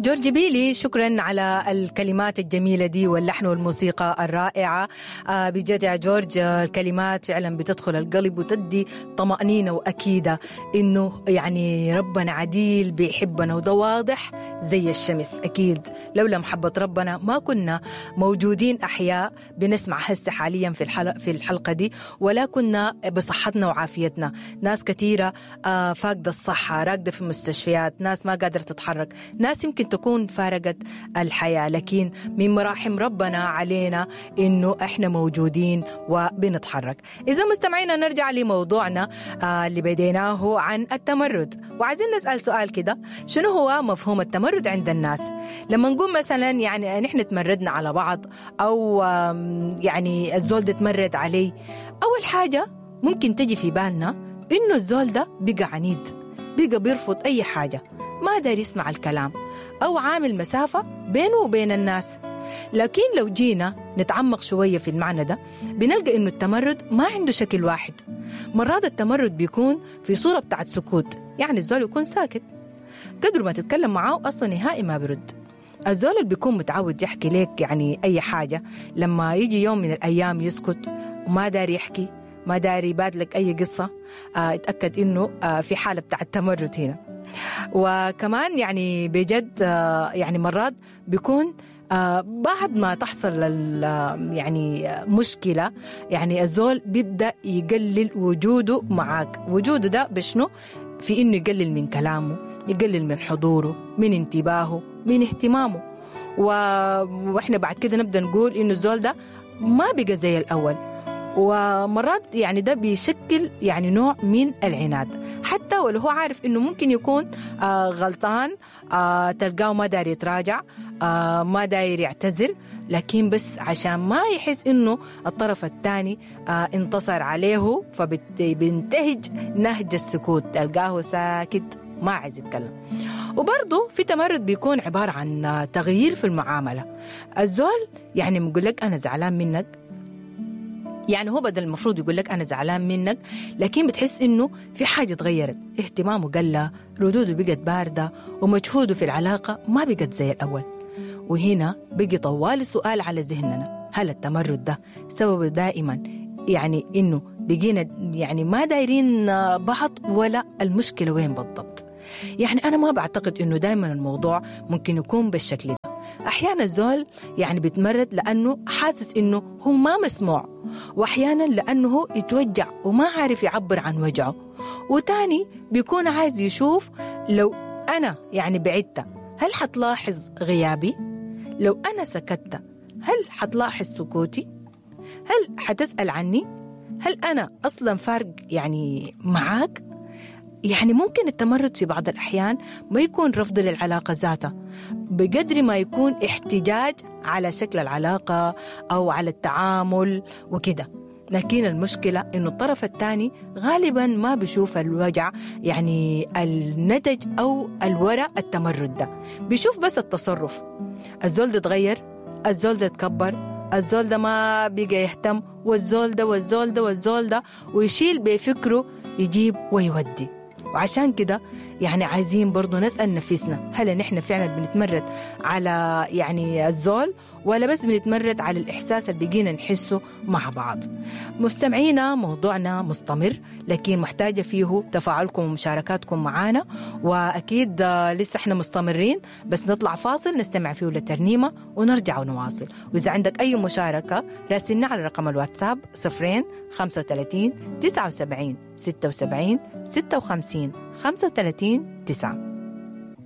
جورج بيلي، شكرا على الكلمات الجميلة دي واللحن والموسيقى الرائعة. بجد يا جورج، الكلمات فعلا بتدخل القلب وتدي طمأنينة وأكيدة إنه يعني ربنا عديل بيحبنا، وده واضح زي الشمس. أكيد لولا محبة ربنا ما كنا موجودين أحياء بنسمع هسه حاليا في الحلقة دي، ولا كنا بصحتنا وعافيتنا. ناس كثيرة فاقدة الصحة، راقدة في المستشفيات، ناس ما قادرة تتحرك، ناس يمكن تكون فارقت الحياة، لكن من مراحم ربنا علينا إنه إحنا موجودين وبنتحرك. إذا مستمعينا نرجع لموضوعنا اللي بديناه عن التمرد، وعايزين نسأل سؤال كده: شنو هو مفهوم التمرد عند الناس؟ لما نقول مثلا يعني نحن تمردنا على بعض، أو يعني الزول ده تمرد علي، أول حاجة ممكن تجي في بالنا إنه الزول ده بقى عنيد، بقى بيرفض أي حاجة، ما داير يسمع الكلام، أو عامل مسافة بينه وبين الناس. لكن لو جينا نتعمق شوية في المعنى ده بنلقى إنه التمرد ما عنده شكل واحد. مرات التمرد بيكون في صورة بتاعت سكوت، يعني الزول يكون ساكت قدر ما تتكلم معاه أصلا نهائي ما برد. الزول اللي بيكون متعود يحكي لك يعني أي حاجة، لما يجي يوم من الأيام يسكت وما داري يحكي، ما داري يبادلك أي قصة، اتأكد إنه في حالة بتاعت تمرد هنا. وكمان يعني بجد يعني مرات بيكون بعد ما تحصل يعني مشكلة، يعني الزول بيبدأ يقلل وجوده معاك. وجوده ده بشنو؟ في إنه يقلل من كلامه، يقلل من حضوره، من انتباهه، من اهتمامه. وإحنا بعد كده نبدأ نقول إنه الزول ده ما بقى زي الأول. ومرات يعني ده بيشكل يعني نوع من العناد، حتى ولو هو عارف إنه ممكن يكون غلطان، تلقاه ما داير يتراجع، ما داير يعتذر، لكن بس عشان ما يحس إنه الطرف الثاني انتصر عليه، فبينتهج نهج السكوت، تلقاه ساكت ما عايز يتكلم. وبرضه في تمرد بيكون عبارة عن تغيير في المعاملة. الزول يعني بيقول لك أنا زعلان منك، يعني هو بدل المفروض يقول لك أنا زعلان منك، لكن بتحس إنه في حاجة تغيرت، اهتمامه قل، ردوده بقت باردة، ومجهوده في العلاقة ما بقت زي الأول. وهنا بقي طوال السؤال على ذهننا: هل التمرد ده سببه دائما يعني إنه بقينا يعني ما دايرين بعض، ولا المشكلة وين بالضبط؟ يعني أنا ما بعتقد إنه دائما الموضوع ممكن يكون بالشكل ده. أحيانا الزول يعني بيتمرد لأنه حاسس إنه هو ما مسموع، وأحيانا لأنه هو يتوجع وما عارف يعبر عن وجعه، وتاني بيكون عايز يشوف لو أنا يعني بعدت هل حتلاحظ غيابي؟ لو أنا سكت هل حتلاحظ سكوتي؟ هل حتسأل عني؟ هل أنا أصلا فارق يعني معاك؟ يعني ممكن التمرد في بعض الأحيان ما يكون رفض للعلاقة ذاتها بقدر ما يكون احتجاج على شكل العلاقة أو على التعامل وكده. لكن المشكلة إنه الطرف الثاني غالبا ما بيشوف الوجع يعني النتج أو الوراء التمرد ده، بيشوف بس التصرف. الزول ده تغير، الزول ده تكبر، الزول ده ما بقى يهتم، والزول ده والزول ده والزول ده، ويشيل بفكره يجيب ويودي. وعشان كده يعني عايزين برضو نسأل نفسنا: هل نحن فعلا بنتمرد على يعني الزول، ولا بس بنتمرد على الإحساس اللي بقينا نحسه مع بعض؟ مستمعينا موضوعنا مستمر، لكن محتاجة فيه تفاعلكم ومشاركاتكم معانا، وأكيد لسه احنا مستمرين، بس نطلع فاصل نستمع فيه لترنيمة ونرجع ونواصل. وإذا عندك أي مشاركة راسلنا على رقم الواتساب 0 35 79 76 56 35 9.